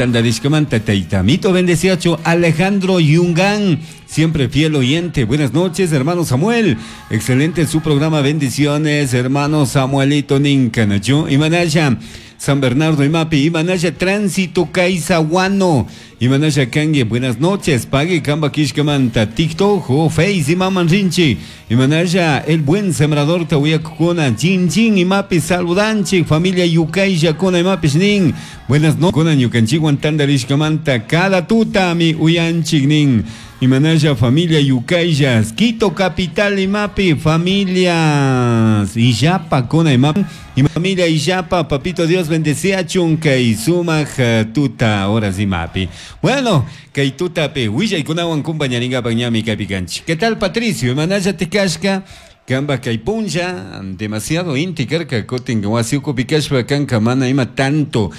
Tandarishkamanta tayta mito bendeciacho Alejandro Yungán, siempre fiel oyente. Buenas noches, hermano Samuel. Excelente su programa, bendiciones, hermano Samuelito Ninkanachu. Imanasha San Bernardo Imapi, Imanasha Tránsito Kaisaguano, Imanasha Kangue, buenas noches, Pague Kamba Kishkamanta, TikTok o Face Imaman Rinchi, Imanasha El Buen Sembrador Tahuiacuna, Chin Chin Imapi Saludanchi, familia Yucay Yakuna Imapi Nin, buenas noches, Kuna Ñukanchikwan Tandarishkamanta, cada tuta mi uyanchik nin. Imanaya familia Yucayas, Quito Capital Imapi, familias Illapa Kuna Imapi, y familia Illapa, papito Dios bendecía chunka y sumaj tuta horas imapi. Bueno, kay tutapi willaykunawan kumpañarinkapak ñami kaypi kanchik. ¿Qué tal, Patricio? Imanaya tikashka? Kamba kay punlla, demasiado inti karka, kutin wasi ukupi kashpa kanka mana ima tanto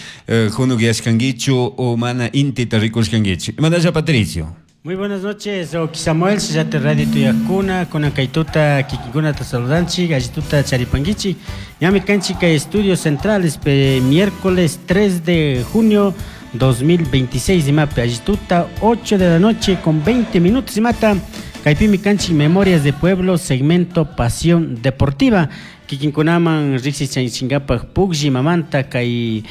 hunukiyashkankichu o mana intita rikushkankichu. Imanaya, Patricio? Muy buenas noches, Oki Samuel, Sillate Radio Tuyakuna, kuna kaytuta kikinkunata saludanchik, allituta charipankichik. Ñami kanchik kay Estudios Centrales, pe miércoles 3 de junio 2026, imapi allituta 8 de la noche con 20 minutos, imata, kaypimi kanchik Memorias de Pueblo, segmento Pasión Deportiva. Kikinkunaman riqsichanchinkapak puklli mamanta kay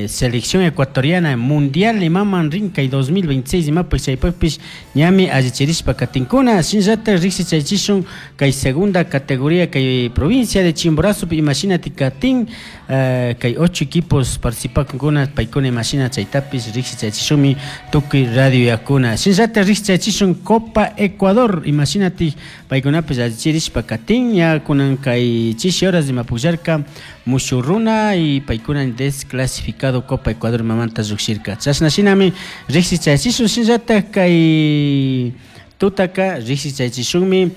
selección ecuatoriana mundial imaman rin kay 2026 imapak chaypakpish ñami allichirishpa katinkuna. Shinllatak riqsichaychishun kay segunda categoría kay provincia de Chimborazo imashinati katin, kay 8 equipos participakunkuna paykuna imashina chaytapish riqsichaychishunmi tukuy radio yakuna. Shinllatak riqsichaychishun Copa Ecuador imashinati paykunapish allichirishpa katin ya kunan kay chishi horas imapukllarka mushurruna y paykuna desclasificado Copa Ecuador mamanta lluqshirka. Chashna shinami riqsichaychishun. Shinllatak kay tutaka riqsichaychishunmi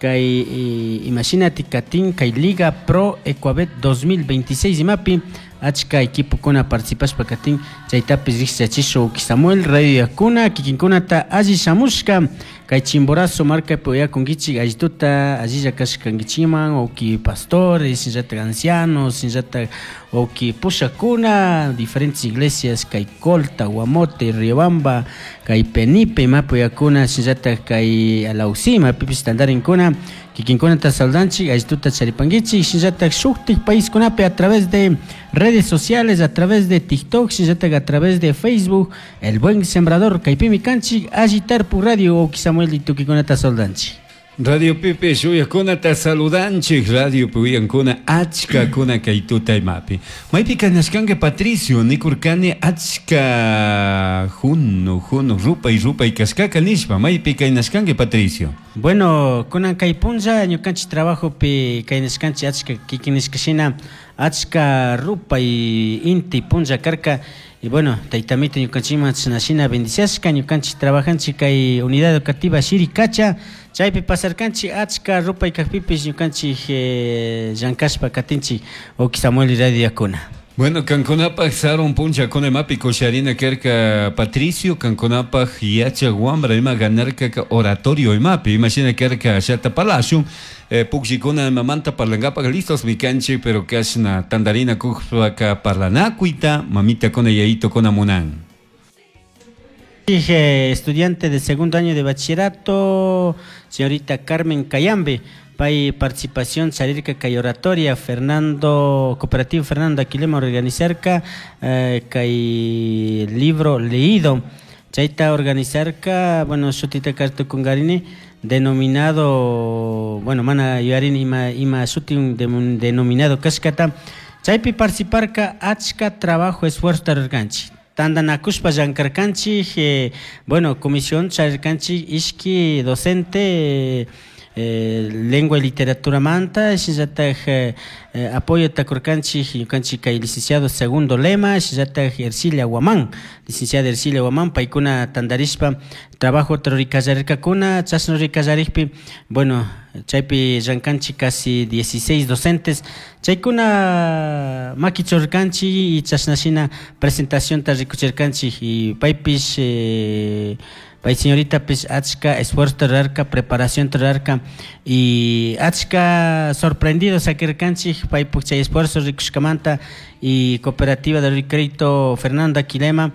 kay imashinati katin kay Liga Pro Ecuabet 2026 imapi achka equipokuna participashpa katin chaytapish riqsichaychishun. Samuel Radio yakuna kikinkunata alli shamushka kay Chimborazo markapi uyakunkichik allituta allilla kashkankichikman uki pastores, shinllatak ancianos, shinllatak uki pushakuna diferentes iglesias kay Colta, Guamote, Riobamba, kay Penipe imapi uyakuna, shinllatak kay Alausí imapipish tantarinkuna kikinkunata saludanchik allituta charipankichik. Shinllatak shuktik paiskunapi a través de redes sociales, a través de TikTok, shinllatak a través de Facebook, El Buen Sembrador, kaypimi kanchik alli tarpuk radio. Uki Samuel y tukikunata saludanchik. Radio Pipe shuyakunata saludanchik, Radio Puyankuna achka kuna kay tuta imapi. Maypi kanashkanka, Patricio, nikurkani achka hunu hunu rupay rupay kashkaka nishpa. Maypi kaynashkanki, Patricio? Bueno, kunan kay punlla ñukanchik trabajopi kaynashkanchik achka kikin nishka shina achka rupay inti punlla karka. Y bueno, taytamito ñukanchikman chashna shina bendiciashka ñukanchik trabajanchik kay unidad educativa Shirikacha chaypi pasarkanchik achka rupay kakpipish ñukanchik llankashpa katinchik, Uki Samuel Radio yakuna. Bueno, kankunapaj sarun punchakuna imapi kusharina karka, Patricio, kankunapaj yachak wambra ima ganarka oratorio imapi, imashina karka ashata parlashun, pukllikuna imamanta parlankapak listos mi kanchik, pero kashna tandarina kujpaka parlanakuyta mamitakuna yayitokuna munan. Dije, estudiante de segundo año de bachillerato, señorita Carmen Cayambe, pay participación charirka kay oratoria Fernando, Cooperativo Fernando Aquilema organizarka kay libro leído. Chayta organizarka, bueno, shutita kartukungarini, denominado, bueno, mana yuyarini ima shuti denominado kashkata. Chaypi participarka achka trabajo esfuerzo tararkanchik. Tantanakushpa llankarkanchik, bueno, comisión charirkanchik ishki docente, lengua y literatura manta, shinllatak apoyo takurkanchik ñukanchik kay licenciado Segundo Lema, shinllatak Ercilia Guamán, licenciada Ercilia Guamán, paykuna tantarishpa trabajo ruraykallarikakuna. Chashna ruraykallarikpi, bueno, chaypi llankanchik casi 16 docentes, chaykuna makichurkanchik y chashna shina presentacionta rikuchirkanchik y paypish pay señorita achka esfuerzo rurarka, preparación rurarka y achka sorprendido sakirkanchik paypuk chay esfuerzo rikushkamanta y Cooperativa de Crédito Fernando Aquilema.